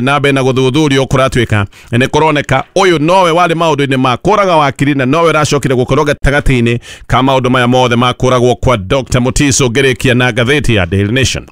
Na mbere na gũthuthurio kũratuĩka nĩ kũroneka ũyũ nowe warĩ maũndũ-inĩ ma kũraga wakiri na nowe ũracokire gũkorwo gatagatĩ-inĩ ka maũndũ maya mothe ma kũragwo kwa Dr. Mutiso. Ngĩrĩkia na ngathĩti ya Daily Nation.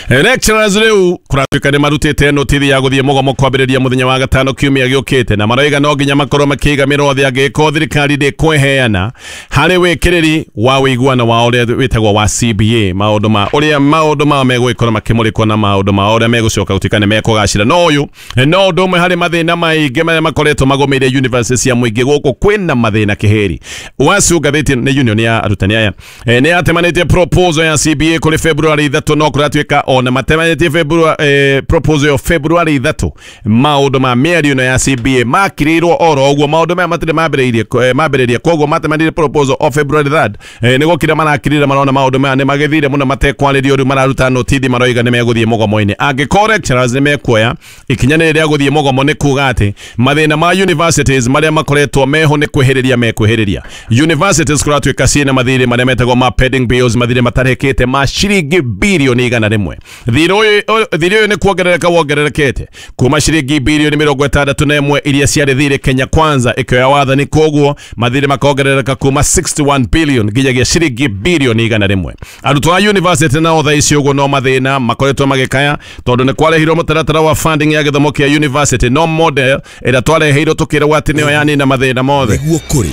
Lecturers rĩu kũratuĩka nĩ marutĩte notithi ya gũthiĩ mũgomo kwambĩrĩria mũthenya wa gatano kiumia gĩũkĩte, na maroiga no nginya makorwo makĩiga mĩrothe angĩkorwo thirikari ndĩkweheana harĩ wĩkĩrĩri wa ũiguano wa ũrĩa wĩtagwo wa CBA, maũndũ ma ũrĩa maũndũ mao megũgĩkorwo makĩmũrĩkwo na maũndũ ma ũrĩa megũcoka gũtuĩka nĩ mekũgacĩra. No ũyũ no ũndũ ũmwe harĩ mathĩna maingĩ marĩa makoretwo magũmĩire university cia mũingĩ gũkũ kwĩna mathĩna kĩhĩri. Wacu ngathĩti nĩ union ya arutani aya nĩ yatemanĩtie proposal ya CBA kũrĩ February 3, no kũratuĩka ona matemanĩtie February proposal ya February 3, maũndũ ma mĩario ĩno ya CBA makirĩirwo oro ũguo. Maũndũ maya matirĩ mambĩrĩrie, koguo matemanĩrie proposal o February 3 nĩ gũkira marakirire, marona maũndũ maya nĩ magĩthire mũno matekwarĩrio. Rĩu mararuta notithi, maroiga nĩ megũthiĩ mũgomo-inĩ angĩkorwo lecturers nĩ mekuoya ikinya rĩrĩ rĩa gũthiĩ mũgomo. Nĩ kuga atĩ mathĩna ma universities marĩa makoretwo meho nĩ kwĩhĩrĩria mekwĩhĩrĩria. Universities kũratuĩka ciĩna mathirĩ marĩa metagwo ma pending bills, mathirĩ matarĩkĩte ma ciringi birioni 100. Thirĩ ũyũ nĩ kuongerereka wongererekete kuma ciringi birioni 61 iria ciarĩ thirĩ Kenya Kwanza ĩkĩoya wathani, koguo mathirĩ makongerereka kuma 61 billion nginyagia ciringi birioni 100. Arutwo a university nao thaa ici ũguo no mathĩna makoretwo magĩkaya tondũ nĩ kwarehirwo mũtaratara wa funding ya gĩthomo kĩa university, no model ĩrĩa twareheirwo tũkĩrwo atĩ nĩyo yanina mathĩna mothe Nĩguo kũrĩ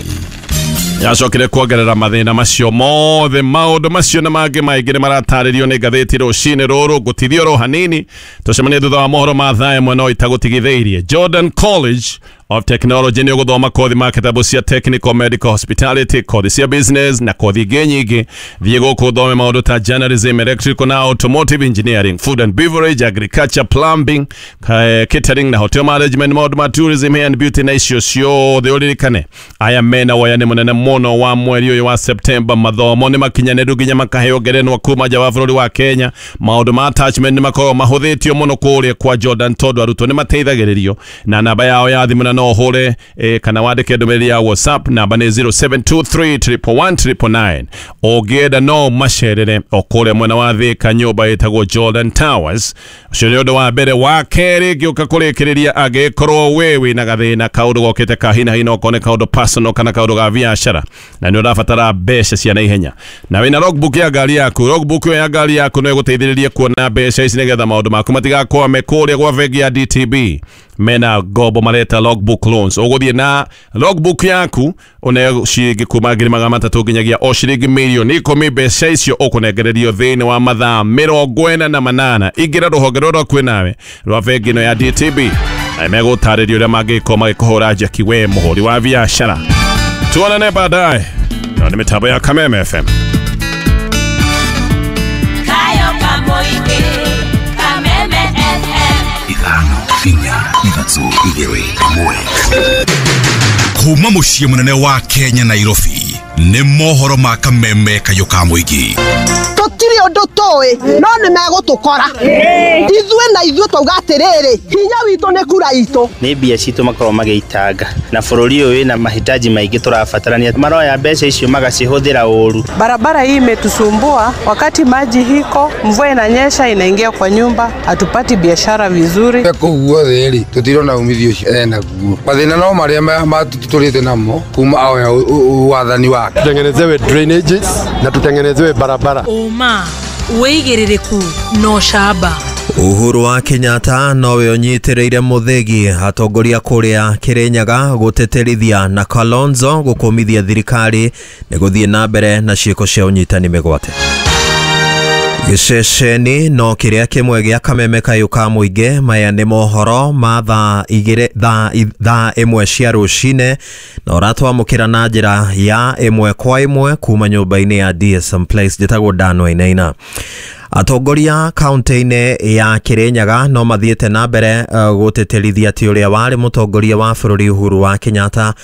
yacokire kuongerera mathĩna macio mothe. Maũndũ macio na mangĩ maingĩ nĩ maratarĩrio nĩ ngathĩti rũcinĩ rũrũ. Ngũtithio oro hanini, tũcemanie thutha wa mohoro ma thaa 1. No itagũtigithĩirie, Jordan College of Technology nĩ ũgũthoma kothi ma kitabu cia technical, medical, hospitality, kothi cia business na kothi ingĩ nyingĩ. Thiĩ gũkũ ũthome maũndũ ta journalism, electrical na automotive engineering, food and beverage, agriculture, plumbing, catering na hotel management, maũndũ ma tourism, hair and beauty na icio ciothe. Ũririkane aya mena woyani mũnene mũno wa mweri ũyũ wa September. Mathomo nĩ makinyanĩru nginya makaheo ngerenwa kuma nja wa bũrũri wa Kenya. Maũndũ ma attachment nĩ makoragwo mahũthĩtio mũno kũrĩa kwa Jordan tondũ arutwo nĩ mateithagĩrĩrio na namba yao ya thimũ, na no ũhũre kana wandĩke ndũmĩrĩri ya WhatsApp. Namba nĩ 0723111999. Ũngĩenda no macerere o kũrĩa mwena wa Thika, nyũmba ĩtagwo Jordan Towers. Ũcio nĩ ũndũ wa mbere. Wa kerĩ, ngĩũka kũrĩkĩrĩria, angĩkorwo we wĩna gathĩna, kaũndũ gokĩte ka hina hina, okorwo nĩ kaũndũ personal kana kaũndũ ga biacara na nĩ ũrabatara mbeca cia naihenya na wĩna logbook ya ngari yaku, logbook ĩyo ya ngari yaku no ĩgũteithĩrĩrie kuona mbeca ici nĩgetha maũndũ maku matigakwame. Kũrĩa gwa bengi ya DTB mena ngombo mareta logbook loans. Ũgũthiĩ na logbook yaku ũneo ciringi kuma 300,000 nginyagia o ciringi 10,000,000. Mbeca icio ũkũnengererio thĩinĩ wa mathaa 48. Ingĩra rũhonge rũrĩa rwakuĩ nawe rwa bengi ĩno ya DTB na megũtarĩria ũrĩa mangĩkorwo magĩkũhũra njeki we mũhũri wa biacara. Tuonane baadaye na nĩ mĩtambo ya Kameme FM. Kayo kamoike Kameme FM. 5 4 3 2 1. Kuma mũciĩ mũnene wa Kenya, Nairobi, nĩ mohoro ma Kameme kayũ ka mũingĩ. Tũtirĩ ũndũ tũĩ, no nĩ megũtũkora ithuĩ na ithuĩ twauga atĩrĩrĩ, hinya witũ nĩ kura itũ. Nĩ mbia citũ makorwo magĩitanga na bũrũri ũyũ wĩna mahitaji maingĩ tũrabatarania, maroya mbeca icio magacihũthĩra ũru. Barabara hii imetusumbua, wakati maji hiko, mvua inanyesha inaingia kwa nyumba, hatupati biashara vizuri. Kũu guothe rĩ, tũtirona umithio ũcio enaguo. Mathĩna no marĩa tũtũrĩte namo kuma aoya wathani wake. Tutengenezewe drainages na tutengenezewe barabara. Ũma, wĩigĩrĩrĩku na ũcamba. Uhuru wa Kenyatta nowe ũnyitĩrĩire Muthegi, atongoria kũrĩa Kirinyaga gũtĩtĩrithia na Kalonzo gũkũmithia thirikari nĩ gũthiĩ na mbere na ciĩko cia ũnyitani mĩgwate. Gĩceceni no kĩrĩa kĩmwe gĩa Kameme kayũ ka mũingĩ. Maya nĩ mohoro ma thaa 2, thaa 1 cia rũcinĩ, na ũratwamũkĩra na njĩra ya ĩmwe kwa ĩmwe kuma nyũmba-inĩ ya DSM Place. Njĩtagwo Dan Wainaina. Atongoria kaunti-inĩ ya Kirinyaga no mathiĩte na mbere gũtĩtĩrithia atĩ ũrĩa warĩ mũtongoria wa bũrũri Uhuru wa Kenyatta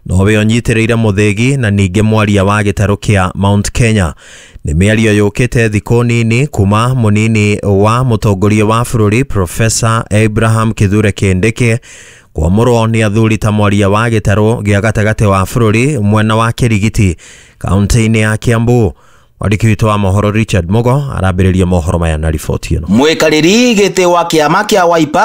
nowe ũnyitĩrĩire Muthegi na ningĩ mwaria wa gĩtarũ kĩa Mount Kenya. Nĩ mĩario yũkĩte thikũ nini kuma mũnini wa mũtongoria wa bũrũri Professor Abraham Kithure Kindiki kwamũrwo nĩ athuri ta mwaria wa gĩtarũ gĩa gatagatĩ wa bũrũri mwena wa Kĩrigiti kaunti-inĩ ya Kiambu. Mwandĩki witũ wa mohoro Richard Mugo arambĩrĩria mohoro maya na riboti ĩno. Mwikarĩri gĩtĩ wa kĩama kĩa Wiper.